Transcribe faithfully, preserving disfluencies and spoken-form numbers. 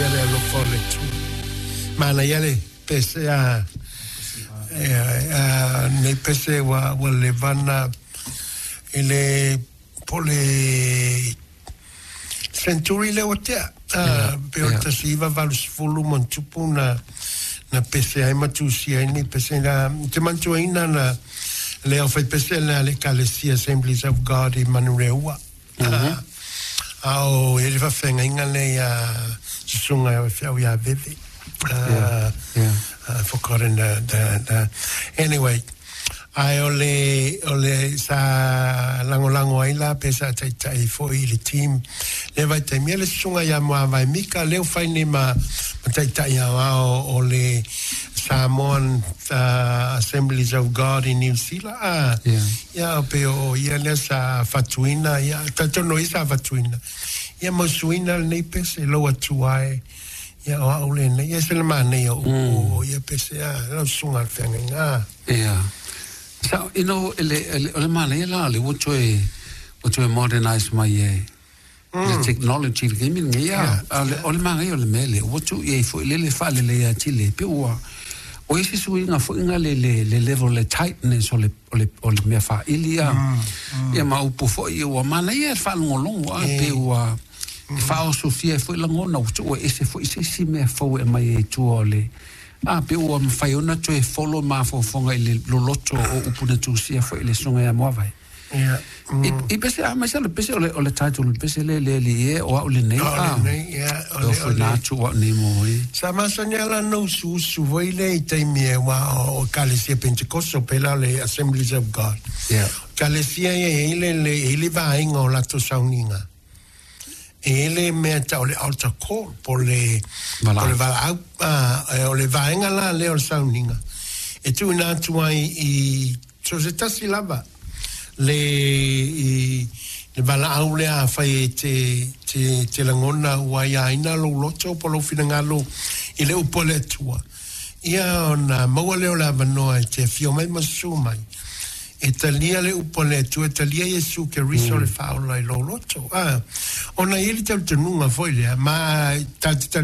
Manuia le alofa o le Atua. Manaia le pese a a nei pese ua ua leva na i le po o le century lea ua tea. Ah, pe o le tasi iva valu sefulu ma ona tupu na na pese ai ma tusia ai nei pese la. Ou te manatuaina na le aufaipese lena a le Ekalesia Assemblies of God i Manureua. Ah, a o i ai le faafeagaiga lea ia Susuga Feau ia Veve. Uh, Yeah. I've forgotten the, the, the anyway, ae o le o le sa lagolago ai la pe sa taitai foi i le team le vaitaimi ia le susuga ia Muavae Mika lea ua fai nei ma ma taitai aoao o le Samoan uh, Assemblies of God in New Zealand ah. Yeah. Ia pe o ia lea sa fatuina ia talitonu o ia sa fatuina ia mausuina lenei pese lou Atua e ia o au lenei ia e se le manaia o upu o ia pese a lau susuga i le feagaiga ah. Ia. Sa, you know, ele, ele, o le manaia la, le ua toe, ua toe modernize mai e, le technology le taimi lenei, a, a le, o le manaia o le mea lea, ua tuu i ai foi le le faaleleia atili, pe ua, o isi suiga foi nga le, le, le level, le tightness o le, o le, o le mea faaili, a, ia ma upu foi, ua manaia le faalogologo, a, pe ua, e faaosofia ai foi lagona, ua tuu e ese foi se isi mea fou e aumai ai i tua o le, a, pe ua mafai ona toe folo mafaufauga i le loloto o upu na tusia foi i le susuga ia Muavae. Ia. I, i pese, a, mai le pese o le, o le title, le pese le le le e, o au lenei, O a. lenei, ia, o O le, o foi le, na atu o au nei mo e. Sa masani lava ona usuusu foi lea i taimi e aua o Ekalesia Pentekoso pe la o le Assemblies of God. Ia. Ekalesia ia e i ai le, le, e i ai le vaega o latou sauniga. E i ai le mea e tau o le altar call po o le, po o le valaau. A, o le vaega la lea o le sauniga e tuuina atu ai i so se tasi lava le i le valaau lea afai e te te te lagona ua aiaina lou loto po o lou finagalo i le upu a le Atua ia ona maua lea o le avanoa e te afio mai ma susu mai e talia le upu a le Atua, e talia Iesu Keriso le Faaola i lou loto. A, ona e i ai le talitonuga foi lea, ma tatou te